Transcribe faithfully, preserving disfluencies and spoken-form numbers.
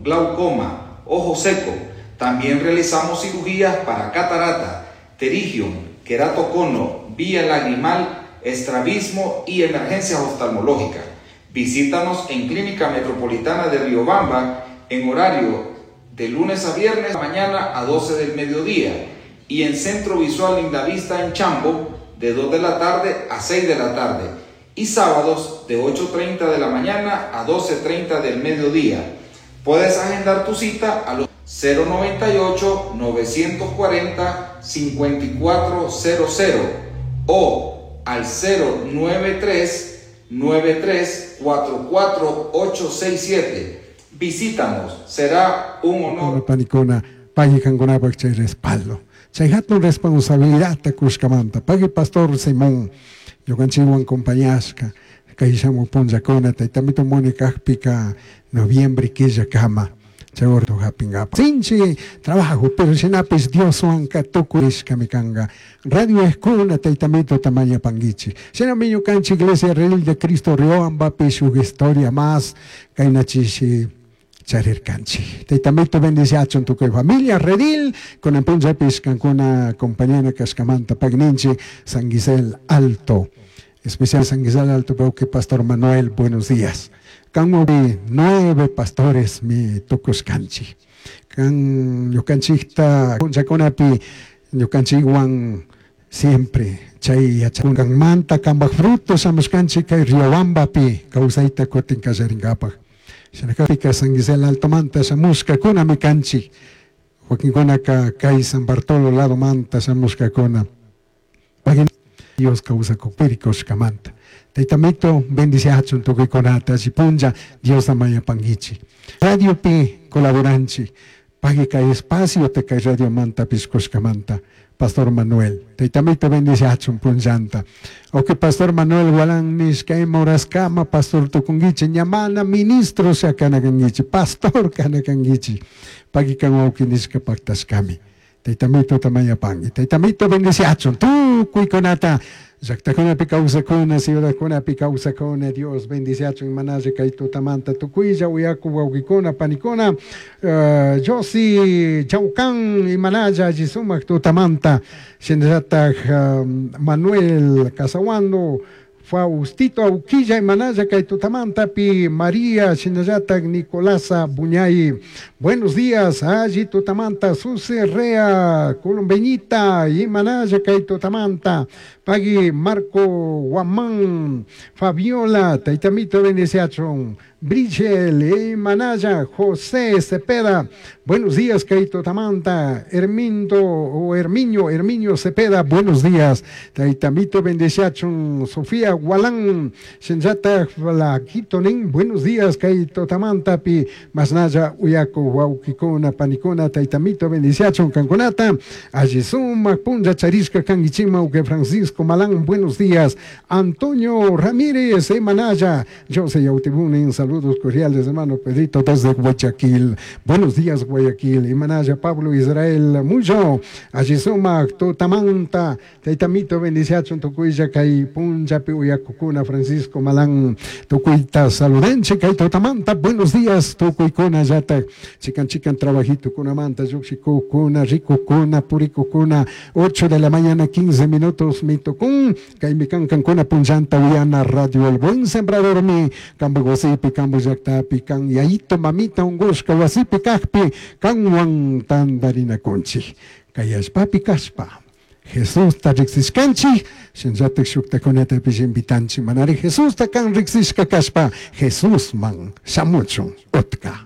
glaucoma, ojo seco. También realizamos cirugías para catarata, pterigium, queratocono, vía lagrimal, estrabismo y emergencias oftalmológicas. Visítanos en Clínica Metropolitana de Riobamba en horario de lunes a viernes mañana a doce del mediodía y en Centro Visual Lindavista en Chambo de dos de la tarde a seis de la tarde y sábados de ocho treinta de la mañana a doce treinta del mediodía. Puedes agendar tu cita a los cero noventa y ocho, novecientos cuarenta, cincuenta y cuatro cero cero o al cero nueve tres, nueve tres cuatro cuatro ocho seis siete. Visítanos, será un honor. Panicona, pagui kankunapaq chay respaldo. Chay hatun responsabilidad kushkamanta. Pagui Pastor Simón, ñukanchikwan compañashka, kay shamuq punllakuna, taytamito Mónica kajpika, noviembre killa kama. Chay orto hapingapa. Sinchi trabajo, pero shinapis Dioswan tukurishka mikanga. Radio Escuna, taytamito tamaña panguichi. Shinami ñukanchik Iglesia Redil de Cristo Riobambapi shuk historia más, kaynachishi charirkanchik. Taytamito bendiciachun tukuy familia Redil, con punllapis kankuna compañera kashkamanta pagninchi San Gisel Alto. Especial San Gisel Alto, que Pastor Manuel, buenos días. Kan nueve pastores mi tukuskanchi. Kan ñukanchikta punllakunapi ñukanchikwan siempre chay yachakunmanta kanpaj frutos shamushkanchik kay Riobambapi kawsayta kutin kallarinkapak. Shinakapika San Gisel Altomanta shamushkakuna kanchik. Wakinkunaka kay San Bartolo lado manta shamushkakuna. Dios kawsakukpiri kushkamanta. Taytamito bendiciachun tukuykunata punlla Dios amayapanguichi. Radio pi colaboranchi. Pagui kay espacio te kay radio manta piskushkamanta. Pastor Manuel. Taytamito bendiciachun punllanta. Ok, Pastor Manuel Gualán nishka moraskama pastor tukunguichi ñamana ministro shakanakanguichi pastor kanakanguichi. Pagui kan wawqi nishka paktashkami. Taytamito tamayapangi. Taytamito bendiciachun tukuykunata. Llaqtakunapi kawsakuna, ciudadkunapi kawsakuna, Dios bendiciachun manalle kay tutamanta tukuylla uyaku wawqikuna, panikuna, uh, Josi Chaucán imanalla alli sumaq tutamanta, shinallataq um, Manuel Casahuando, Faustito Auquilla imanalla kay tutamanta pi María shinallataq Nicolasa Buñay. Buenos días, alli tutamanta Susi Rea Columbeñita imanalla kay tutamanta Pagui Marco Guamán Fabiola Taitamito bendiciachon Brichel imanalla José Cepeda. Buenos días kay tutamanta Hermindo o Herminio Herminio Cepeda. Buenos días Taitamito bendiciachon Sofía Gualán Shinjata la Quitonin. Buenos días kay tutamanta pi masnaya uyaku wawqikuna panikuna taytamito bendiciachon kankunata alli sumaq punlla charishka kankichima uke Francisco Malán. Buenos días Antonio Ramírez Emanaya José Yautibunin. Saludos cordiales hermano Pedrito desde Guayaquil. Buenos días Guayaquil. Emanaya Pablo Israel Mucho alli sumaq tutamanta taytamito bendiciachon tukuylla kay punllapi uyakukuna Francisco Malán tukuyta saludenche kay tutamanta. Buenos días tukuykuna yata chican chican trabajito kunamanta lluqshikukuna rikukuna purikukuna ocho de la mañana quince minutos mitokun kay mikankankuna punllanta uyana radio El Buen Sembrador mi kambu wasipi kambu llaqtapi kan yayito mamita unqushka wasipi kaqpi kanwan tantarinakunchik kay allpapi kashpa Jesusta riqsishkanchik shinllatak shuktakunatapish invitanchik manari Jesusta kan riqsishka kashpa Jesusman shamuchun utka.